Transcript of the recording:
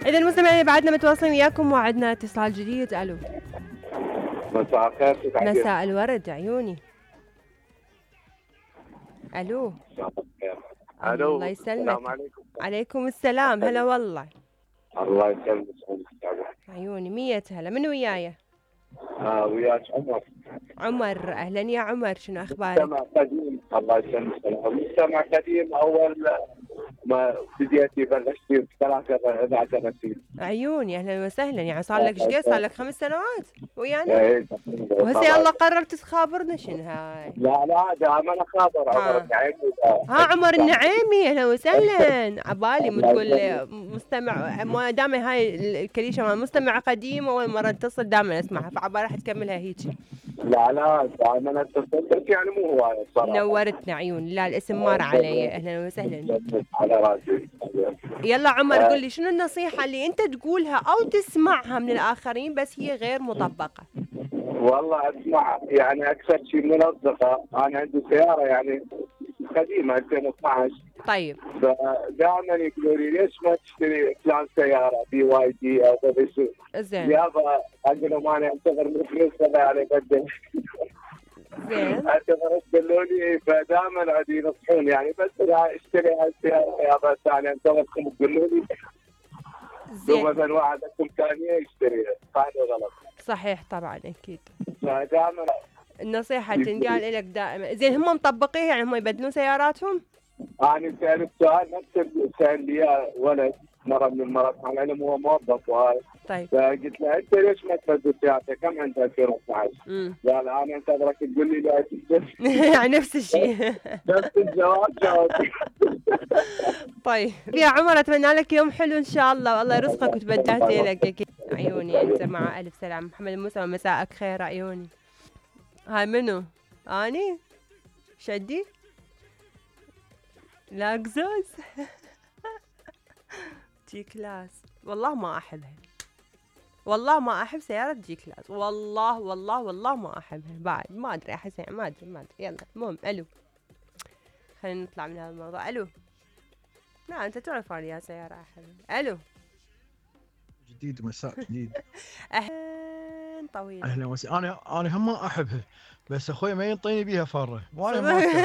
إذا المستمعين بعدنا متواصلين وياكم وعدنا اتصال جديد. ألو. مساء الخير. مساء الورد عيوني. ألو. الو الله يسلمك. السلام عليكم. عليكم السلام. هلا والله. الله يسلمك. عيوني 100 هلا. من وياي؟ وياك عمر. عمر اهلا يا عمر، شنو اخبارك؟ مستمع قديم. الله يسلمك. مستمع قديم. اول ما بديتي بلشتي ب 13 عيوني اهلا وسهلا. يعني صار لك ايش قد؟ صار لك 5 سنوات ويانا؟ ايه وهسه يلا قررت تخابرنا شنو هاي؟ لا دائما اخابر عمر النعيمي. عمر النعيمي اهلا وسهلا. عبالي تقول مستمع، ما دام هاي الكليشه مال مستمع قديم اول مره اتصل دائما اسمعها، فعبالي راح تكملها هيجي. لا دائما اتصل بس يعني مو هوايه الصراحه. نورتنا عيوني. لا الاسم مار علي. اهلا وسهلا. على راسي. يلا عمر قل لي شنو النصيحة اللي انت تقولها او تسمعها من الاخرين بس هي غير مطبقة؟ والله اسمع، يعني اكثر شيء من الاصدقاء، انا عندي سيارة يعني قديمة 2012. طيب. فدائما يقولوا لي ليش ما تشتري فلان سيارة BYD او غيره. زين. يابا اقول لهم انا انتظر من فلوس هذا على قد زين. اعتبر قالوا لي، فدائما عاد ينصحون يعني بس اشتري هالسيارة يابا ثاني انتظركم تقولوا لي. زين. مثلا واحد عنده امكانيه يشتريها، هذا غلط. صحيح طبعا اكيد. فدائما النصيحة تنقال لك دائما. زين هم مطبقين يعني هم يبدلون سياراتهم؟ انا سالت سؤال نفس سال لي اياه ولد مره من المرات، على العلم هو موظف وهاي. طيب. فقلت له انت ليش ما تبدل سيارتك؟ كم عندك 2012؟ قال انا انتظرك تقول لي لا يعني نفس الشيء. نفس الجواب جاوب. طيب يا عمر اتمنى لك يوم حلو ان شاء الله والله يرزقك وتبدلت لك اكيد. عيوني انت مع الف سلام. محمد موسى مساءك خير عيوني. هاي منو؟ اني؟ شدي؟ لاكزوز. جي كلاس والله ما احبها. والله ما احب سيارة جي كلاس. والله ما احبها بعد. ما ادري احس ما ادري. يلا المهم الو. خلينا نطلع من هذا الموضوع. الو. لا انت تعرف يا سيارة احبها. الو. جديد مساء جديد. اهلا طويل. اهلا وسهلا. انا هم ما احبها بس اخوي ما ينطيني بيها فره وانا ما